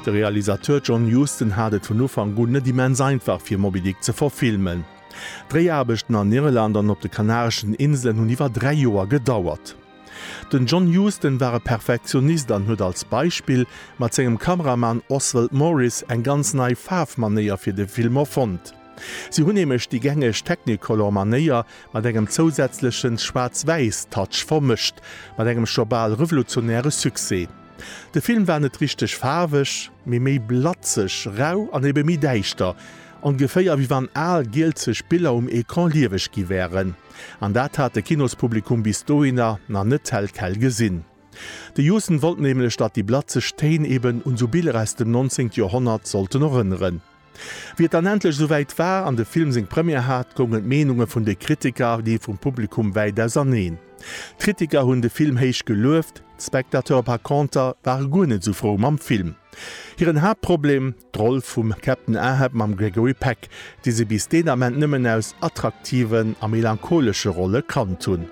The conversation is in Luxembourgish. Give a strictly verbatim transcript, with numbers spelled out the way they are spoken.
De Realisateur John Huston hat et vun Ufank un net immens einfach fir Moby Dick ze verfilmen. D'Dréiaarbechten an Irland an op de Kanareschen Inselen hunn iwwer dräi Joer gedauert. Den John Huston war e Perfektionist an huet als Beispill mat sengem Kameramann Oswald Morris eng ganz nei Faarfmanéier fir de Film erfonnt. Si hunn nämlech déi gängeg Technicolor-Manéier mat engem zousätzlechen Schwaarz-Wäiss-Touch vermëscht, mat engem scho bal revolutionäre Succès. De Film war net richteg faarweg, mee méi blatzeg, rau an ebe méi däischter, ongeféier wéi wann al gielzeg Biller um Ecran lieweg gi wären. An dat hat de Kinospublikum bis dohinner nach net tel quel gesinn. De Huston wollt nämlech, datt déi blatzeg Téin eben un sou Biller aus dem neunzehnten Joerhonnert sollten erënneren. Wéi et dann endlech esouwäit war an de Film seng Première hat, goungen d'Meenunge vun de Kritiker a déi vum Publikum wäit auserneen. D'Kritiker hunn de Film héich gelueft, d'Spectateure par conter ware guer net esou frou mam Film. Hiren Haaptproblem, d'Roll vum Captain Ahab mam Gregory Peck, dee se bis deen Ament nëmmen aus attraktiven a melancholesche Rolle kannt hunn.